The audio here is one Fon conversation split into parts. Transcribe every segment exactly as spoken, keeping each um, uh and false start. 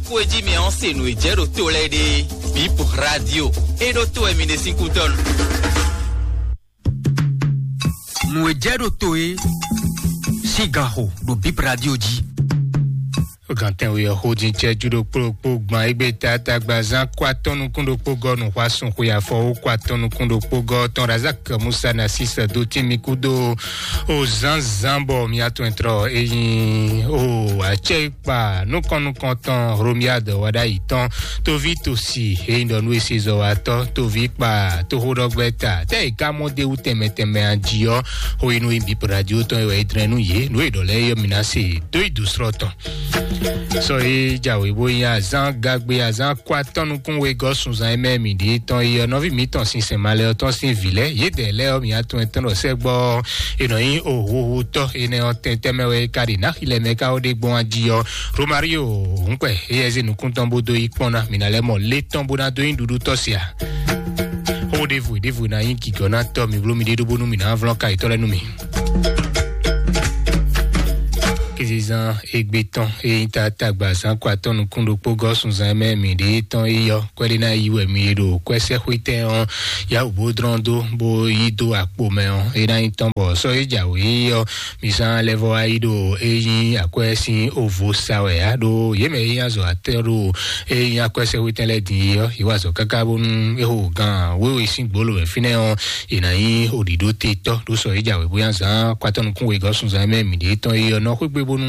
Kó e jí mi ɔ́ se nǔ e jɛ ɖo to lɛ́ɛ ɖe. Bip Radio. E ɖo to wɛ mi ɖe sín kútɔ́nu. Nǔ e jɛ ɖo to e sín ganxo ɖo Bip Radio jí. Gantɛn we ɔ́ xó din cɛ ju ɖokpó ɖokpó gban égbé tata gbazán kó atɔ́ nukún ɖokpó gɔ́ nǔxwásún xwe afɔ wó kó atɔ́ nukún ɖokpó gɔ́ tɔn Razak Musa Nasis dó tín mi kúdó o zánzán bɔ mi atɔn trɔ eyín o acɛ kpa nukɔn nukɔn tɔn Romiad Wadayi tɔn toví tosi eyín ɖɔ nú esezɔwatɔ toví kpa toxóɖɔgbɛ́ta tɛ yi ká mɔ dé wú tɛnmɛ tɛnmɛ ají ɔ́ xó yi nú yi Bip Radio tɔn e wɛ é dlɛ́n nú yě nǔ e ɖɔ lɛ́ɛ yɔ mi ná se dó yi dǒsrɔ́ tɔn. Sɔ e jǎwe bó nyí azán gagbe azán kó atɔ́ nukún wegɔ́ sunzan e mɛ mǐ ɖe tɔn yi ɔ́ nɔví mǐtɔn sinsɛn malɛ ɔ́ tɔn sín vǐ lɛ́ɛ yědɛɛ lɛ́ɛ ɔ́ mǐ atɔn e tɔn ɖɔ sɛ́gbɔ ɔ́ e nɔ nyí ohuhutɔ́ enɛ ɔ́ tɛntɛn mɛ wɛ é ka ɖe nǎ xi lɛ́ɛ mɛ ká ó ɖe gbɔn ají ɔ́. Romario hǔnkpɛ éyɛ́ zé nukún tɔn bó dó yi kpɔ́n ná mǐ ná lɛ́ mɔ lé tɔn bó ná dó nyí ɖuɖu tɔ́ se a? Xó ɖěvo ɖěvo ná nyí gǐgɔ́ ná tɔ́ mi bló mi ɖé ɖó bónú mǐ ná vlɔ́n ka yětɔn lɛ́ɛ nú mi. Kézezán égbé tɔn e nyí tata gbazán kó atɔ́ nukún ɖokpó gɔ́ sunzán mɛ mǐ ɖe tɔn yi ɔ́ kwɛ́ ɖé ná yi wɛ mi e ɖo kwɛ́sɛ́xwétɛn ɔ́ yá wǔ bó dlɔ́n dó bó yí dó akpo mɛ ɔ́ é ná nyí tɔn bɔ sɔ́ e jǎwe ɔ́ mi zán lɛ́ vɔ wá yi ɖo é nyí akwɛ́ sín ovo sa wɛ á ɖó yě mɛ e nyí azɔ̌ atɛ́ ɖo é nyí akwɛ́sɛ́xwétɛn lɛ́ɛ din é ɔ́ yě wa azɔ̌ káká bónú é xo gan wěwe sín gbolo wɛ fínɛ́ ɔ́ è nǎ nyí oɖǐɖó te tɔ́ ɖó sɔ é jǎwe bóyá zán kó atɔ́ nukún wegɔ́ sunzán mɛ mǐ ɖě tɔn é ɔ́ nɔ xwé gbe bónú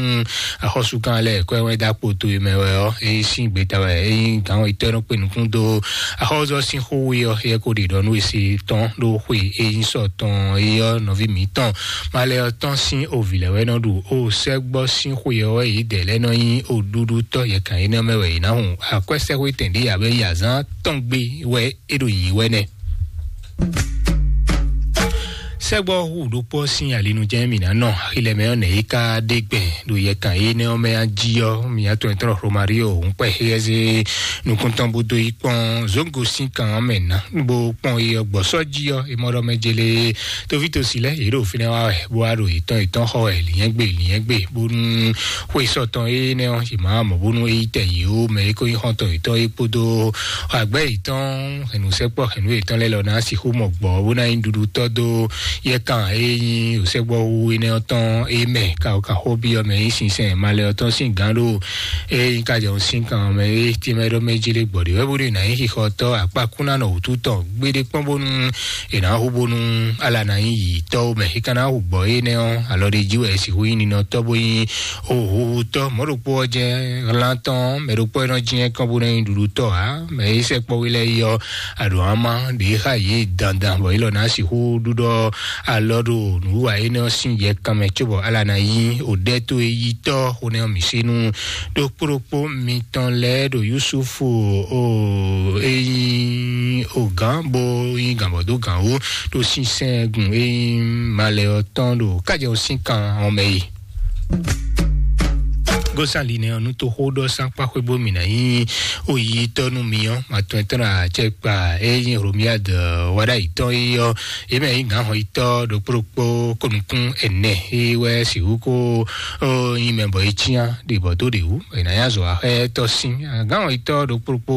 axɔ́súkan lɛ́ɛ kɔ́ ɛ wɛn dó akpo towe mɛ wɛ ɔ́ é sín gbeta wɛ é nyí gǎn itɔ́ e nɔ kpe nukún dó axɔ́zɔ́ sín xó we ɔ́ é ko ɖe ɖɔ nú esi tɔn ɖó xwe e nyí sɔ tɔn é ɔ́ nɔví mǐtɔn malɛ ɔ́ tɔn sín ovǐ lɛ́ɛ wɛ nɔ ɖu o sɛ́gbɔ sín xwe ɔ́ wɛ yě dɛ lɛ́ɛ nɔ nyí oɖuɖutɔ́ yɛkan énɛ́ mɛ wɛ yě ná hun akwɛ́sɛ́xwétɛn ɖé abɛ yi azán tɔn gbe wɛ é ɖo yǐ wɛ nɛ́. Sɛ́gbɔ hu ɖokpó sín alinujɛ́n mǐ ná nɔ axi lɛ́ɛ mɛ ɔ́ nɛ̌ é ka ɖe gbɛn ɖo yɛkan énɛ́ ɔ́ mɛ jí ɔ́ mǐ atɔn e tlɔ́ Romario hǔnkpɛ xéyɛ́zé nukúntɔn bó dó yi kpɔ́n zǒngo sín kan ɔ́ mɛ ná bó kpɔ́n é ɔ́ gbɔ̌ sɔ́ jí ɔ́ é mɔ ɖɔ mɛ jélé toví tosi lɛ́ɛ yě ɖo fínɛ́ wá wɛ bó wá ɖo yětɔn yětɔn xɔ wɛ lǐnyɛ́gbe lǐnyɛ́gbe bónú xwe sɔtɔn énɛ́ ɔ́ yě má mɔ bónú é yi tɛ yě ó mɛ é kó nyí xɔ́ntɔn yětɔn é kpódó agbɛ́ yětɔn hɛ̌nnusɛkpɔ́ hɛ̌nnu yětɔn lɛ́ɛ lɔ ná sixú mɔ gbɔ̌ bó ná nyí ɖuɖutɔ́ dó yɛkan e nyí òsɛ́gbɔ́ wu énɛ́ ɔ́ tɔn é mɛ kaxokaxó byɔ́ mɛ nyí sinsɛn malɛ ɔ́ tɔn sín gǎn ɖo e nyí kajɔ sín kan mɛ é tɛ́nmɛ ɖɔ mɛ jí lé gbɔ̌ ɖé wɛ bó ɖo ná nyí xixɔtɔ́ akpákúnánɔ wǔtu tɔn gbeɖé kpɔ́n bónú è nǎ hu bónú ala ná nyí yǐtɔ́ mɛ é ka ná hu gbɔ̌ énɛ́ ɔ́ alɔ ɖé jí wɛ è sixú nyí ninɔtɔ́ bó nyí ohuhutɔ́ mɔ̌ ɖokpó ɔ́ jɛ́n hlán tɔn mɛ ɖokpó e nɔ jɛ́n kɔn bó ná nyí ɖuɖutɔ́ ǎ mɛ é sɛkpɔ́ wí lɛ́ɛ yi ɔ́ aɖǒ ama ɖě xa yě dandan bɔ yě lɔ ná sixú ɖuɖɔ alɔ ɖo nǔwiwa énɛ́ ɔ́ sín yɛ kanmɛ cóbɔ ala ná nyí òɖɛ́ tó e yí tɔ́ xó nɛ́ ɔ́ mǐ sí nú ɖokpó ɖokpó mitɔn lɛ́ɛ ɖo Yusufu o e nyí ogǎn bó nyí gǎnbɔ́dó gǎn wú ɖo sinsɛngun e nyí malɛ ɔ́ tɔn ɖo kájɛ ɔ́ sín kan ɔ́ mɛ é. Gósàn linɛ ɔ́ nú toxó ɖɔ sánkpáxwé bó mì nǎ nyí oyítɔ́ nú mi ɔ́, atɔn etɔ́ ná acɛkpa e nyí Romiad waɖayitɔ́ é ɔ́, é mɛ nyí gǎnhɔnyitɔ́ ɖokpó ɖokpó kónukún ɛnɛ é wɛ sixú kó nyí mɛ bɔ é cyán ɖe bɔ dó ɖe wú, è nǎ nyí azɔ̌ axɛ́tɔ́ sín. Gǎnhɔnyitɔ́ ɖokpó ɖokpó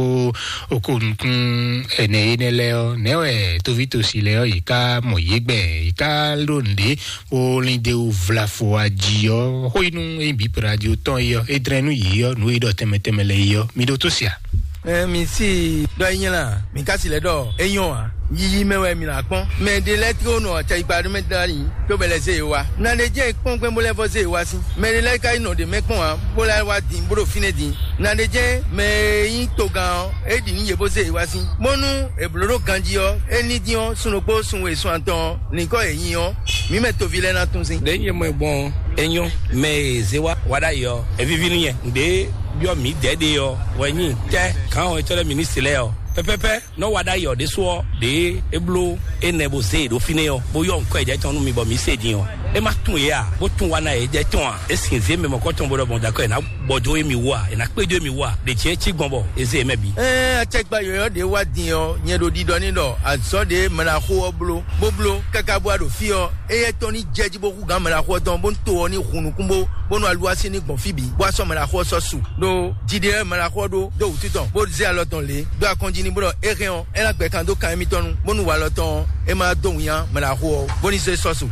kónukún ɛnɛ énɛ́ lɛ́ɛ ɔ́, nɛ̌ wɛ tóvítosi lɛ́ɛ ɔ́, yě ká mɔ yě gbɛ, yě ká ɖó nǔɖé bó lín dó vlafo ají ɔ́, xó yi nú ényí bǐ radio tɔn é ɔ́, é dlɛ́n nú yě ɔ́, nǔ e ɖɔ tɛnmɛ tɛnmɛ lɛ́ɛ é ɔ́, mi ɖótó sia. Ɛ mi si ɖɔ é nyí la, mi ka si lɛ ɖɔ é nyɔ́ ǎ. Yiyi mɛ wɛ mi ná kpɔ́n. Mɛ ɖé lɛ́ɛ tló nɔ acɛyikpa ɖó mɛ dali, tó bɛ lɛ zé yě wá. Na ɖé jẹ́ kpɔ́n gbɛn bó lɛ́ vɔ zé yě wá sín. Mɛ ɖé lɛ́ɛ ka yi nɔ ɖě mɛ kpɔ́n ǎ, bó lɛ́ wá din bó ɖo fínɛ́ din. Na ɖé jẹ́ mɛ e nyí togán ɔ́, é ɖi nǔ yě bó zé yě wá sín. Bónú è blǒ ɖó ganjí ɔ́, é ní dín ɔ́, sun ɖokpó sun we sun atɔn ɔ́, nyǐkɔ yě nyi ɔ́, mǐ mɛ toví lɛ́ɛ ná tún sín. Ɖě nyɛ mɔ ɛ gbɔn ɔ́, é nyɔ́. Mɛ e zé wá wá ɖ'ayǐ ɔ́, é víví nú nyɛ. Nǔɖé byɔ́ mǐdɛɛ ɖe ɔ́ wɛ nyí tɛ́ gǎn ɔ́ etɔ́ lɛ́ɛ mǐ ní se lɛ́ɛ ɔ́. Pɛ́pɛ́pɛ́ nɔ́ wá ɖ'ayǐ ɔ́ ɖésú ɔ́, ɖě é bló énɛ́ bó zé e ɖó fínɛ́ ɔ́, bó yɔ́ nǔkɔ e jɛ tɔn nú mi bɔ mǐ se din ɔ́. E ma tún yě a, bó tún wa ná yě jɛ tɔn a? E sin zé mɛ mɔkɔ tɔn bó ɖɔ bɔn dakɔ yě ná bɔ dó émi wú a? Yě ná kpé dó émi wú a? Ɖe jɛ cí gbɔn bɔ e zé yě mɛ bǐ. Ɛɛ, acɛkpa yɔyɔ ɖe wá din ɔ, nyɛ ɖo ɖiɖɔ ní ɖɔ azɔ̌ ɖe mɛɖaxó ɔ́ bló, bó bló káká bó wá ɖo fí ɔ́, éyɛ́ tɔn ní jɛ jí bó hú gǎn mɛɖaxó ɔ́ tɔn, bó ní to ɔ́ ní hun nukún bó, bónú aluwasi ní gbɔn fí bǐ, bó wá sɔ́ mɛɖaxó ɔ́ sɔ́ su. Ɖó jiɖe wɛ mɛɖaxó ɔ́ ɖó dó wǔtu tɔn, bó zé alɔ tɔn lě dó akɔnjí ní bó ɖɔ é hɛn ɔ́, é ná gbɛ kan dó kan émítɔn nu, bónú walɔ tɔn ɔ́, é ma dó winnyá mɛɖaxó ɔ́, bó ní zé sɔ́ su.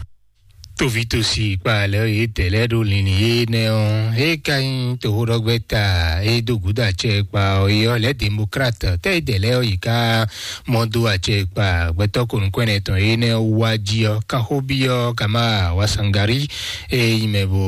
Tovitosi kpa lɛ yě dɛ lɛ ɖo linlin yé nɛ ɔ́, é ka nyí toxóɖɔgbɛ́ta é dó gǔdo acɛ kpa ɔ́ é ɔ́, lɛ̌ demokrat tɛ é dɛ lɛ ɔ́ yi ká mɔ dó acɛ kpa gbɛtɔ́ konukɔnɛ tɔn é nɛ wá jí ɔ́, kanxóbí ɔ́ ka má wá sangari é yi mɛ bó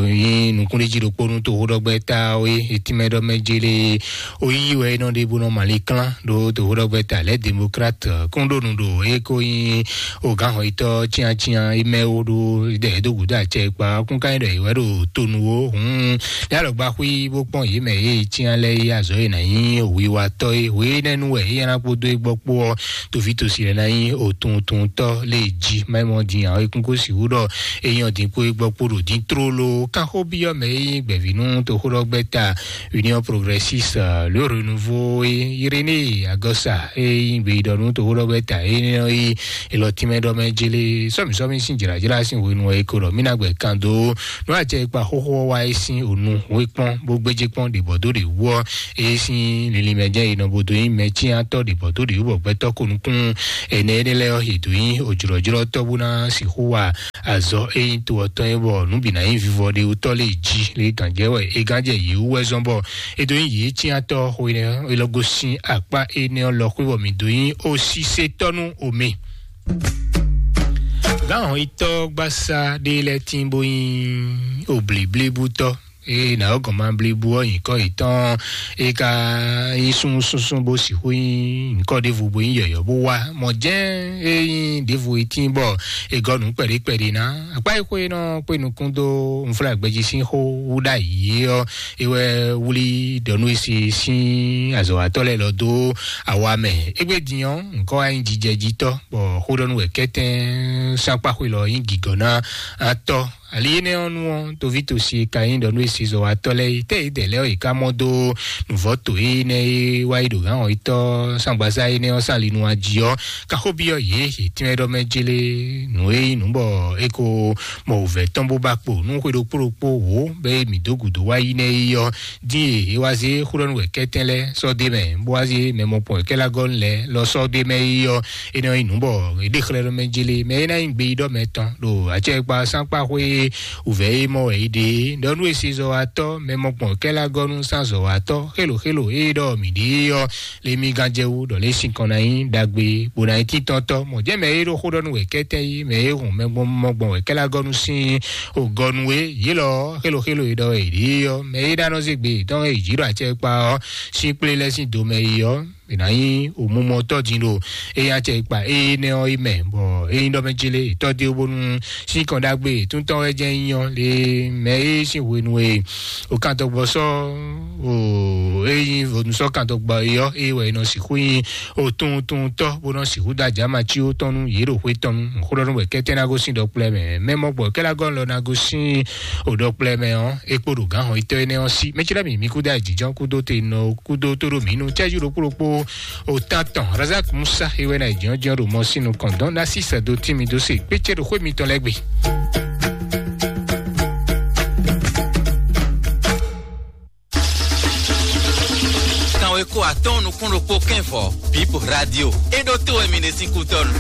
nyí nukúnɖéjí ɖokpó nú toxóɖɔgbɛ́ta ɔ́ é, é tínmɛ ɖɔ mɛ jélé ó yí wɛ é nɔ ɖe bó nɔ mali klán ɖó toxóɖɔgbɛ́ta lɛ̌ demokrat kún ɖó nu ɖo é kó nyí o gǎnhɔnyitɔ́ cyáncyán é mɛ wó ɖó ɖɛ é dó gǔdo acɛ kpa ɔ́ kún ka nyí ɖɔ è wɛ ɖo tonu ó hǔn ní alɔgba xwí bó kpɔ́n yě mɛ yě cyán lɛ́ɛ é azɔ̌ e nǎ nyí wiwatɔ́ é hwe énɛ́ nu wɛ é nyá ná kpódó é gbɔ kpó ɔ́, toví tosi lɛ́ɛ ná nyí otuntuntɔ́ lé jí má é mɔ din ǎ é kún kó sixú ɖɔ é nyí ɔ́ din kpó é gbɔ kpó ɖo dín tlóló kánxó byɔ́ mɛ é nyí gbɛ̌ví nú toxóɖɔgbɛ́ta Union Progressiste, euh, le Renouveau é Irénée Agɔsa é nyí gbeyíɖɔ nú toxóɖɔgbɛ́ta é nɔ yi elɔ tínmɛ ɖɔ mɛ jélé sɔmísɔmí sín jlǎjlá sín hwenu ɔ́ é ko ɖɔ mí ná gbɛ kan dó nú acɛ e kpa xóxó ɔ́ wá é sín ònu wé kpɔ́n bó gbéjé kpɔ́n ɖě bɔ dó ɖě wú ɔ́ é sín linlin mɛ jɛ́n é nɔ bo dó nyí mɛ cyántɔ́ ɖě bɔ dó ɖě wú bɔ gbɛtɔ́ ko nukún ɛnɛ énɛ́ lɛ́ɛ ɔ́ yě dó nyí òjlɔ́jlɔ́tɔ́ bó ná sixú wa azɔ̌ e nyí to ɔ́ tɔn é bɔ nǔ bǐ ná nyí vivɔ ɖe wútɔ́ lě jí lě gǎnjɛ wɛ é gǎnjɛ yě wú wɛ zɔ́n bɔ é dó nyí yě cyántɔ́ xwe nɛ́ é lɔ gosín akpá énɛ́ ɔ́ lɔ xwé bɔ mǐ dó nyí osísétɔ́ nú omi. Gǎnhɔnyitɔ́ gbásá ɖé lɛ́ɛ tín bó nyí oblǐblíbútɔ́ eye nǎ ɔ́ gɔn ma blibu ɔ́ nyǐkɔ yětɔn é ka nyí súnnu súnsún bó sixú nyí nyǐkɔ ɖěvo bó nyí yɔ̌yɔ́ bó wá mɔ̌ jɛ́n é nyí ɖěvo e tín bɔ è gɔ́ nǔ kpɛɖé kpɛɖé ná akpá e xó e nɔ kpé nukún dó unflágbɛjí sín xó wú ɖ'ayǐ ɔ́ é wɛ wlí ɖɔnú e se sín azɔ̌watɔ́ lɛ́ɛ lɔ dó awa mɛ. Égbé din ɔ́, nǔkɔ wá nyí jijɛjitɔ́ bɔ xó ɖɔ nú wɛ kɛ́tɛ́n sákpáxwe lɔ nyí gǐgɔ́ ná atɔ́. Ali énɛ́ ɔ́ nu ɔ́, toví tosi e ka nyí ɖɔ nú esizɔ́watɔ́ lɛ́ɛ é, tɛ́ yědɛɛ lɛ́ɛ ɔ́, yě ká mɔ dó nǔvɔ́ to énɛ́ e wá yi ɖo gǎn ɔ́ yi tɔ́ sángbasá énɛ́ ɔ́ sín ali nu jí ɔ́, ká xó byɔ́ yě, yě tɛ́nmɛ ɖɔ mɛ jélé nǔ e nyí nǔ bɔ é ko mɔ wǔvɛ́ tɔn bó ba kpo nú xwe ɖokpó ɖokpó wǒ bɔ é mǐ dó gǔdo wá yi nɛ́ é ɔ́, dín e é wá zé xó ɖɔ nú wɛ kɛ́tɛ́n lɛ́ɛ sɔ́ d'é mɛ, bó wá zé mɛ mɔkpɔn wɛ kɛ́ lá gɔ́ nú lɛ́ɛ lɔ sɔ́ d'é mɛ é ɔ́, énɛ́ ɔ́ nyí nǔ bɔ é ɖe xlɛ́ ɖɔ mɛ jélé mɛ é ná nyí gbeyíɖɔ mɛ tɔn ɖo acɛkpa sánkpa xwé wǔvɛ́ e mɔ wɛ é ɖe é. Ɖɔ nú esizɔ́watɔ́ mɛ mɔkpɔn kɛ́ lá gɔ́ nú sánzɔ́watɔ́ xélo xélo e ɖɔ mǐ ɖe é ɔ́, lé mí gán jɛ wú ɖɔ lé sinkɔn ná nyí ɖagbe bó ná nyí tíntɔ́ntɔ́. Mɔ̌ jɛ́n mɛ e ɖo xó ɖɔ nú wɛ kɛ́tɛ́ yí mɛ e hun mɛ gbɔn mɔ gbɔn wɛ kɛ́ lá gɔ́ nú sín o gɔ́ nú é. Yě lɔ xélo xélo e ɖɔ wɛ é ɖe é ɔ́, mɛ e ɖó anɔ zé gbe tɔn e jǐ ɖo acɛkpa ɔ́ sín kplé lɛ́ɛ sín do mɛ é ɔ́, è nǎ nyí òmumɔtɔ́ din ɖo eye acɛ kpa énɛ́ ɔ́ yi mɛ, bɔ é nyí ɖɔ mɛ jélé tɔ́ dé bónú sínkɔn ɖagbe túntɔn wɛ jẹ́ nyí ɔ́ lé mɛ é sín hwenu e òkantɔgbɔ sɔ́ o é nyí ònú sɔ́ kantɔgbɔ é ɔ́ é wɛ è nɔ sixú nyí òtuntuntɔ́ bó nɔ sixú da jǎma cí ó tɔn nú yě ɖo xwé tɔn nú xó ɖɔ nú wɛ kɛ́tɛ́ ná gosín ɖɔkplɔ́ mɛ mɛ mɔ gbɔ kɛ́ lá gɔ́ lɔ ná gosín òɖɔkplɔ́ mɛ ɔ́ é kpó ɖo gǎn hɔn itɔ́ énɛ́ ɔ́ sí. Mɛ cɛ́ɖɛ́ mǐ mí kúdó ayǐjínjɔ́n kúdó te nɔ kúdó tó ɖo mǐ nu cɛ́jú ɖokpó ɖokpó o tán tɔn Razak Musa é wɛ ná ayǐjínjɔ́n ɖo mɔ sín nukɔn dɔn ná sí sɛdo tín mi dó se kpécé ɖo xwé mitɔn lɛ́ɛ gbe. Kanwe kó atɔ́ɔ́n nukún ɖokpó kɛ́nvɔ Bip Radio é ɖó tó wɛ mi ɖe sín kútɔ́nu.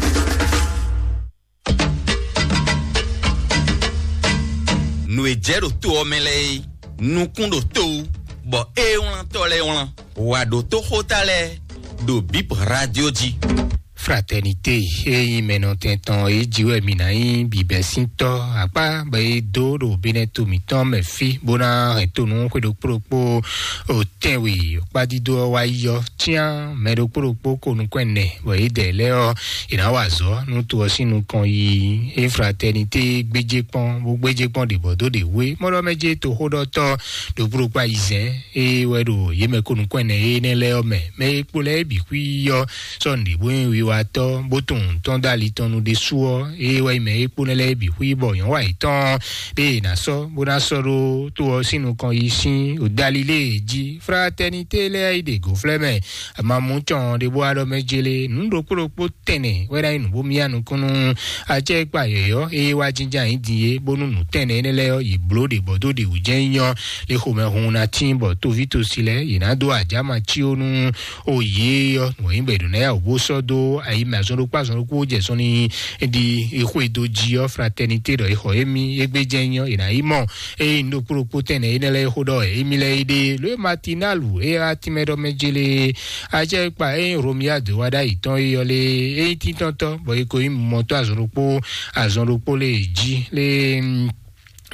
Nǔ e jɛ ɖo to ɔ́ mɛ lɛ́ɛ é, nukún ɖo to wú, bɔ é wlántɔ́ lɛ́ɛ wlán. Wǎ ɖó tóxóta lɛ́ɛ ɖo Bip Radio jí. Fraternité e nyí mɛnɔtɛn tɔn é jí wɛ mǐ ná nyí bǐbɛ́síntɔ́ akpá bɔ é dó ɖo Benɛto mǐtɔn mɛ fí bó ná hɛn to nú xwe ɖokpó ɖokpó o tɛnwe kpádídó ɔ́ wá yi ɔ́, cyán mɛ ɖokpó ɖokpó ko nukɔn ɛnɛ bɔ yědɛɛ lɛ́ɛ ɔ́, è nǎ wa azɔ̌ nú to ɔ́ sín nukɔn yi. Fraternité gbéjé kpɔ́n bó gbéjé kpɔ́n ɖě bɔ dó ɖě wú é. Mɔ́ ɖɔ mɛ jẹ́ toxóɖɔtɔ́ ɖokpó ɖokpó ayizɛ́n é wɛ ɖo yě mɛ ko nukɔn ɛnɛ énɛ́ lɛ́ɛ ɔ́ mɛ. Mɛ e kpo lɛ́ɛ é bǐ xwí ɔ́ sɔ́ nǔɖé bó nyí wiwa atɔ́ bó tunwun tɔn dó ali tɔn nu ɖésú ɔ́, ée wɛ nyí mɛ e kpó nɛ́ lɛ́ɛ bǐ xwí bɔ nyɔ̌wa yětɔn ɖé è nǎ sɔ́ bó ná sɔ́ ɖó tó ɔ́ sín nukɔn yi sín odalilée jí. Fraternité lɛ́ɛ yi ɖe gǒflɛ́ mɛ, amamú cɔn ɖé bó wá ɖɔ mɛ jélé nǔ ɖokpó ɖokpó tɛnɛ wɛ ná nyí nǔ bó myá nukúnnú. Acɛkpa yɔ̌yɔ́ e wá jínjɔ́n ayǐ din é, bónú nǔ tɛnɛ énɛ́ lɛ́ɛ ɔ́, yě bló ɖě bɔ dó ɖě wú jɛ́n nyí ɔ́, lě xomɛhun ná tín bɔ tóví tosi lɛ́ɛ yě ná dó ajǎma cí ó nú o yě ɔ́, nǔ e nyí bɔ è ɖǒ ná yá wǔ bó sɔ́ dó ayi mɛ azɔn ɖokpó azɔn ɖokpó jɛ sɔn ní ɖi xwedó jí ɔ́, fraternité ɖɔ é xɔ émí égbé jɛ́n nyí ɔ́, è nǎ yi mɔ eye un ɖokpó ɖokpó tɛnɛ énɛ́ lɛ́ɛ xó ɖɔ wɛ émí lɛ́ɛ yi ɖe ló e matinalu e wá tínmɛ ɖɔ mɛ jélé. Acɛkpa e nyí Romia dó wá ɖ'ayǐ tɔn é yɔ lé, é nyí tíntɔ́ntɔ́ bɔ é ko nyí mɔtɔ́ azɔn ɖokpó azɔn ɖokpó lé jí lé.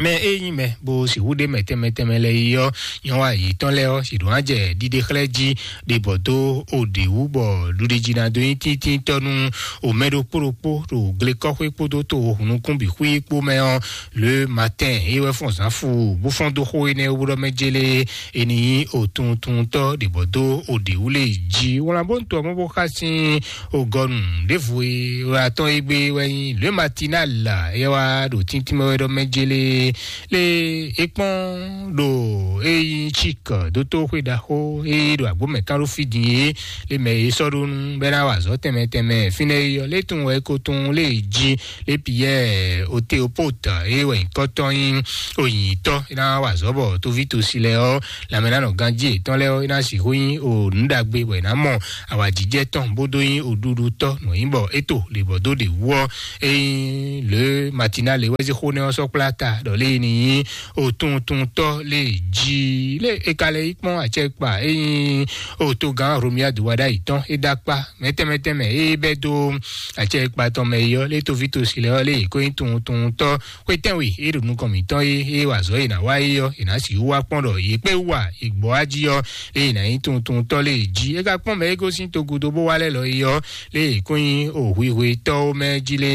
Mɛ e nyí mɛ bó sixú ɖe mɛ tɛnmɛ tɛnmɛ lɛ́ɛ yi ɔ́, nyɔ̌wa yětɔn lɛ́ɛ ɔ́, sì ɖǒ ná jɛ ɖiɖe xlɛ́ jí ɖe bɔ dó o ɖě wú bɔ ɖuɖejí ná dó nyí tíntínntɔ́ nú o mɛ ɖokpó ɖokpó ɖo glekɔ́xwé kpódó to o hunnukún bǐ xwí kpó mɛ ɔ́. Le matin é wɛ fɔ́n zǎnfu bó fɔ́n dó xó énɛ́ wú ɖɔ mɛ jélé é ní nyí o tuntuntɔ́ ɖě bɔ dó o ɖě wú lé jí. Wlán bó ń to ɔmɔ bó xá sín o gɔnu ɖěvo e wɛ atɔ́n égbé wɛ nyí le matinal. É wá ɖo tíntín mɛ wɛ ɖɔ mɛ jélé lé é kpɔ́n ɖo é nyí chik dótó xwé ɖaxó é ɖo agbómɛ kán ɖó fí din é lé mɛ é sɔ́ ɖó nú bɛ́ ná wa azɔ̌ tɛnmɛ tɛnmɛ fínɛ́ é yɔ lé tunwun wɛ é ko tunwun lé jí lé Piyɛ́ɛ Oteopót é wɛ nyǐkɔ tɔn nyí onyǐnyítɔ́ é ná wa azɔ̌ bɔ tóví tosi lɛ́ɛ ɔ́, lanmɛ ná nɔ ganjí yětɔn lɛ́ɛ ɔ́, é ná sixú nyí o nǔ ɖagbe bɔ è nǎ mɔ awǎjijɛ tɔn bó dó nyí oɖuɖutɔ́ nǔ nyí bɔ é to lě bɔ dó ɖě wú ɔ́, é nyí lě matinale wɛ zé xó nɛ́ ɔ́ sɔ́ kplá ta ɖɔ lě ní nyí otuntuntɔ́ lě jí lě é ka lɛ yi kpɔ́n acɛkpa é nyí otogán Romia do wa ɖ'ayǐ tɔn é dó akpá mɛtɛmɛtɛmɛ é bɛ́ dó acɛkpa tɔn mɛ yi ɔ́ lě tóví tosi lɛ́ɛ ɔ́ lě ko nyí tuntuntɔ́ xwetɛ́nwe e ɖo nukɔn mǐtɔn é, é wa azɔ̌ e è nǎ wa é ɔ́, è nǎ sixú wá kpɔ́n ɖɔ yě kpé wú a, è gbɔ wá jí ɔ́, lě è nǎ nyí tuntuntɔ́ lě jí. É ka kpɔ́n mɛ e gosín togudo bó wá lɛ́ lɔ é ɔ́, lě è kó nyí o hwihwetɔ́ mɛ jí lé,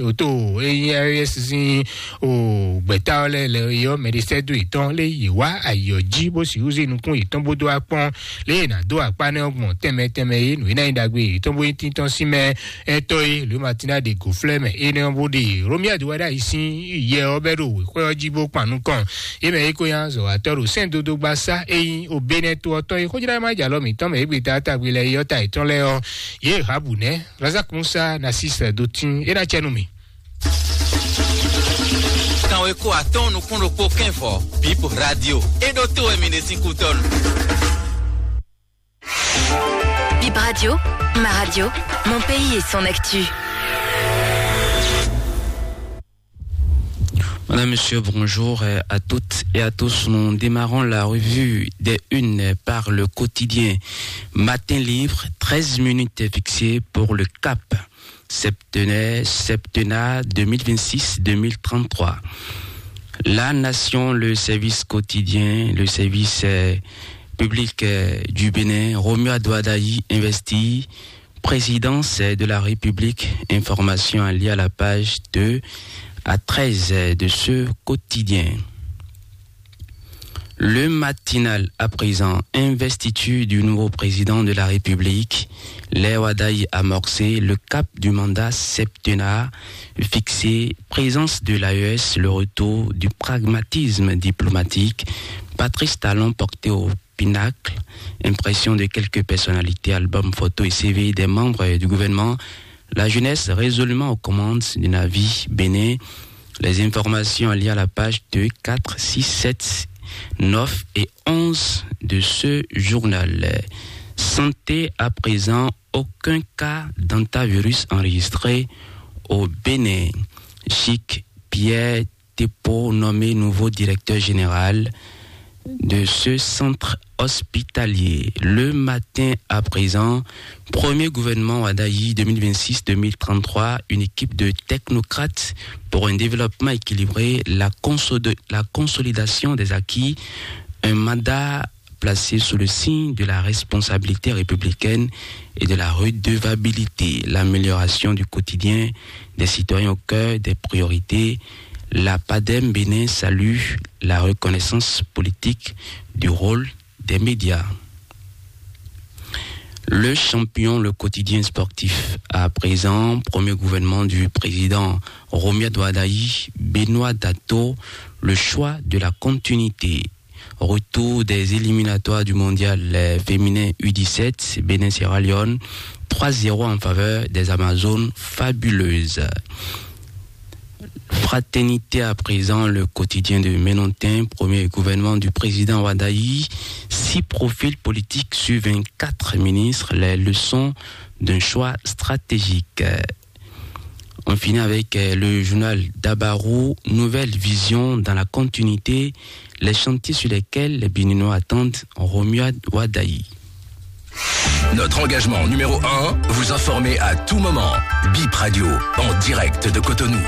o tó e nyí R S sín o gbɛ̌ta ɔ́ lɛ́ lɛ é ɔ́, mɛ ɖé sɛ́ dó yětɔn lé yě wá ayǐ ɔ́ jí bó sixú zé nukún yětɔn bó dó wá kpɔ́n lě e è nǎ dó akpá nɛ́ ɔ́ gbɔn tɛnmɛ tɛnmɛ é, nǔ e ná nyí ɖagbe yětɔn bó nyí tíntɔ́n sín mɛ ɛtɔ́ e lǒ Matina ɖe gǒflɛ́ mɛ énɛ́ ɔ́ bó ɖe Romia do wá ɖ'ayǐ sín yɛ ɔ́ bɛ́ ɖo wěxwɛ́ ɔ́ jí bó kpan nukɔn. É mɛ é ko nyí azɔ̌watɔ́ ɖo sɛ́n dodó gbasá e nyí Obénɛ́ to ɔ́ tɔn e xójlá má jalɔ mǐtɔn mɛ égbé ta tagbe lɛ yɔ́ ta yětɔn lɛ́ɛ ɔ́, yě Habu nɛ́ Razak Musa Nasis dó tín é ná cɛ nú mì. Kan we kó atɔ́ɔ́n nukún ɖokpó kɛ́n vɔ̌, Bip Radio. É ɖótó wɛ mi ɖe sín kútɔ́nu. Bip Radio, ma radio, mon pays et son actu. Madame, Monsieur, bonjour euh, à toutes et à tous. Nous démarrons la revue des unes par le quotidien Matin Libre. Treize minutes fixées pour le cap septennat, septennat deux mille vingt-six deux mille trente-trois. La Nation, le service quotidien, le service euh, public euh, du Bénin, Romuald Wadagni investit présidence de la République, information à lire à la page deux à treize de ce quotidien. Le Matinal, à présent, investiture du nouveau président de la République, Léo Adaï amorcé, le cap du mandat septennat fixé, présence de l'A E S, le retour du pragmatisme diplomatique, Patrice Talon porté au pinacle, impression de quelques personnalités, albums, photos et C V des membres du gouvernement, la jeunesse résolument aux commandes du navire Bénin. Les informations liées à la page deux, quatre, six, sept, neuf et onze de ce journal. Santé à présent, aucun cas d'antavirus enregistré au Bénin. Chic Pierre Tepo nommé nouveau directeur général de ce centre hospitalier. Le Matin à présent, premier gouvernement Wadayi deux mille vingt-six deux mille trente-trois, une équipe de technocrates pour un développement équilibré, la, la consolidation des acquis, un mandat placé sous le signe de la responsabilité républicaine et de la redevabilité, l'amélioration du quotidien des citoyens au cœur des priorités, la PADEM Bénin salue la reconnaissance politique du rôle des médias. Le champion, le quotidien sportif. À présent, premier gouvernement du président Romuald Wadagni, Benoît Dato, le choix de la continuité. Retour des éliminatoires du mondial, euh, féminin U dix-sept, Bénin Sierra Leone, trois zéro en faveur des Amazones fabuleuses. Fraternité à présent, le quotidien de Ménontin, premier gouvernement du président Wadagni, six profils politiques sur vingt-quatre ministres, les leçons d'un choix stratégique. On finit avec, euh, le journal Dabarou, nouvelle vision dans la continuité, les chantiers sur lesquels les Béninois attendent Romuald Wadagni. Notre engagement numéro un, vous informer à tout moment. Bip Radio, en direct de Cotonou.